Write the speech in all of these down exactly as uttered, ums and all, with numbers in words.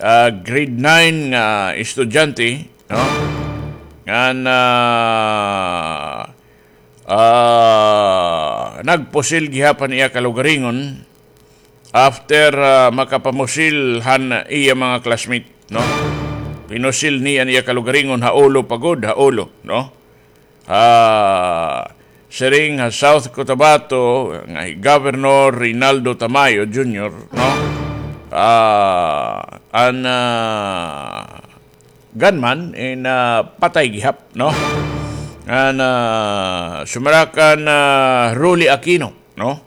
ah, grade nine nga estudyante, no? Ngan, ah, ah, nagpusil gihap an iya kalugaringon after, ah, makapamusil han iya mga classmate, no? Pinusil niya an iya kalugaringon ha ulo pa gud, ha ulo, no? Ah, siring ha South Cotabato nga hi Governor Reynaldo Tamayo Junior, no? Ah, an, ah, gunman in, ah, patay gihap, no? An, ah, sumara kan, ah, Rolly Aquino, no?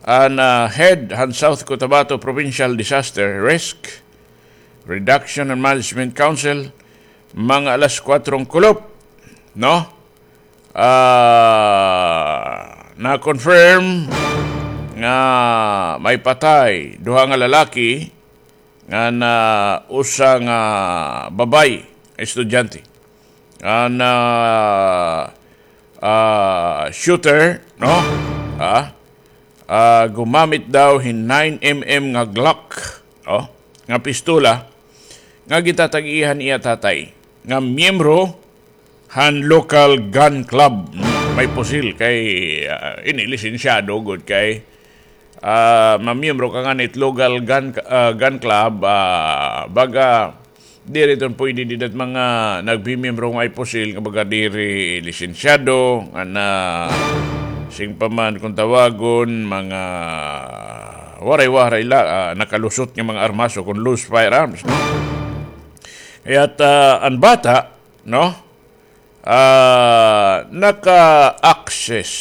An, ah, head han South Cotabato Provincial Disaster Risk Reduction and Management Council, mga alas kwatro kulop, no? Ah, na-confirm nga may patay, duha nga lalaki, ngan, ah, usa nga babay, estudyante. An, ah, ah, shooter, no? Ah, ah, gumamit daw hin nine M M nga Glock, no? Nga pistola, nga gitatag-iya han iya tatay, nga miyembro han local gun club. May pusil kay, ah, ini lisensyado gud kay, ah, mamiyembro ka ngani hit local gun, ah, gun club, ah, baga diri iton pwede dida hit mga nagmimiyembro nga may pusil nga baga diri lisensyado, nga na, siring pa man kon tawagon, mga waray-waray la, ah, nakalusot nga mga armas o kon loose firearms, no? Kaya't, ah, an bata, no? Ah, naka-access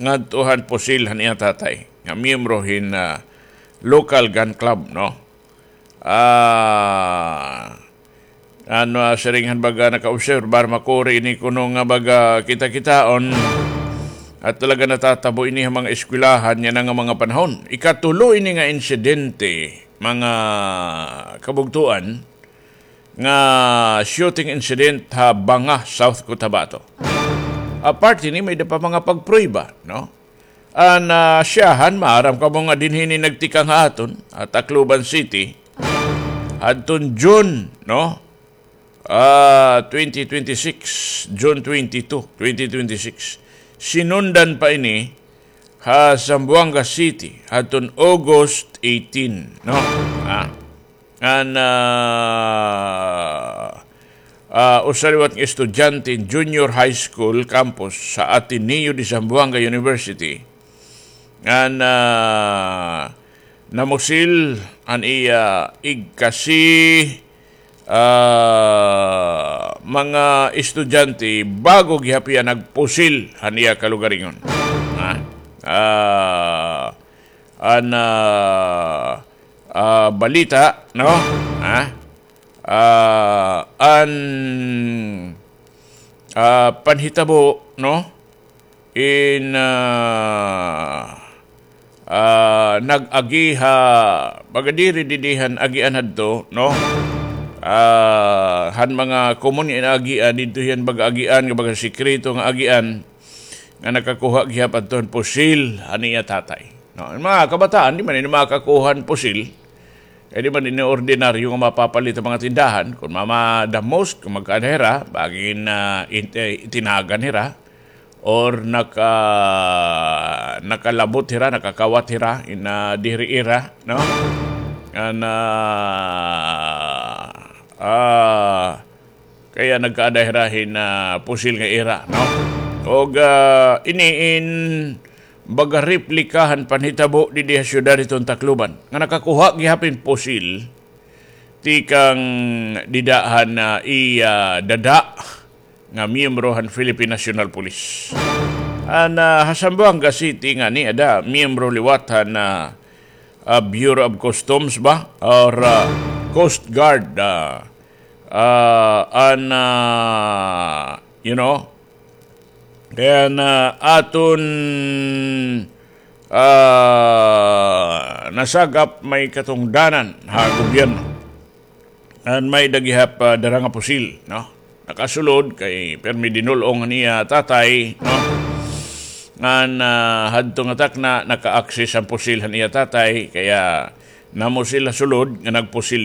ngadto han pusil han iya tatay, nga miyembro hin, ah, local gun club, no? Ah, ano, ah, siring han baga naka-obserbar, makuri ini kuno nga baga kita-kitaon, at talaga natatabo ini ha mga eskwelahan yana nga mga panahon. Ikatulo ini nga insidente, mga kabugtoan, nga shooting incident ha Banga, South Cotabato. Apart hini, may-ada pa mga pagprueba, no? An, ah, syahan, maaram kamo nga dinhi ini nagtikang ha aton, ha Tacloban City, hadton June, no? Ah, twenty twenty-six, June twenty-two, twenty twenty-six. Sinundan pa ini ha Zamboanga City, hadton August eighteen, no? Ah. An, ah, ah, usa liwat nga estudyante in Junior High School campus sa Ateneo de Zamboanga University. An, ah, namusil an iya igkasi, ah, mga estudyante bago gihap hiya nagpusil han iya kalugaringon. Ah, ah, an, ah, ah, balita, no? Ha? Ah, an, ah, panhitabo, no? In, ah, ah, nag-agi ha, baga diri didi han agian hadto, no? Ah, han mga common nga agian, didto hiya baga agian, nga baga sikreto nga agian, nga nakakuha gihap hadto han pusil han iya tatay. No, an mga kabataan, di man ini makakuha han pusil. Kay di man ini ordinaryo nga mapapalit ha mga tindahan. Kon mama, the most, kon magkaada hira, bangin, ah, it-, eh, itinagan hira, or naka-, nakalabot hira, nakakawat hira, in, ah, diri ira, no? An, ah, ah, Kaya nagkaada hira hin, ah, pusil nga ira, no? Og, ah, ini in baga replika han panhitabo didi ha syudad hiton Tacloban, nga nakakuha gihap hin pusil tikang dida han, ah, iya dada nga miyembro han Philippine National Police. An, ah, ha Zamboanga City ngani ada miyembro liwat han, ah, ah, Bureau of Customs ba? Or, ah, Coast Guard, ah, ah, an, ah, you know, kay an, ah, aton, ah, nasagap may katungdanan ha gobyerno. An may-ada gihap, ah, dara nga pusil, no? Nakasulod kay pirmi dinul-ong han iya tatay, no? Ngan, ah, hadto nga takna, naka-access an pusil han iya tatay, kaya namusil ha sulod nga nagpusil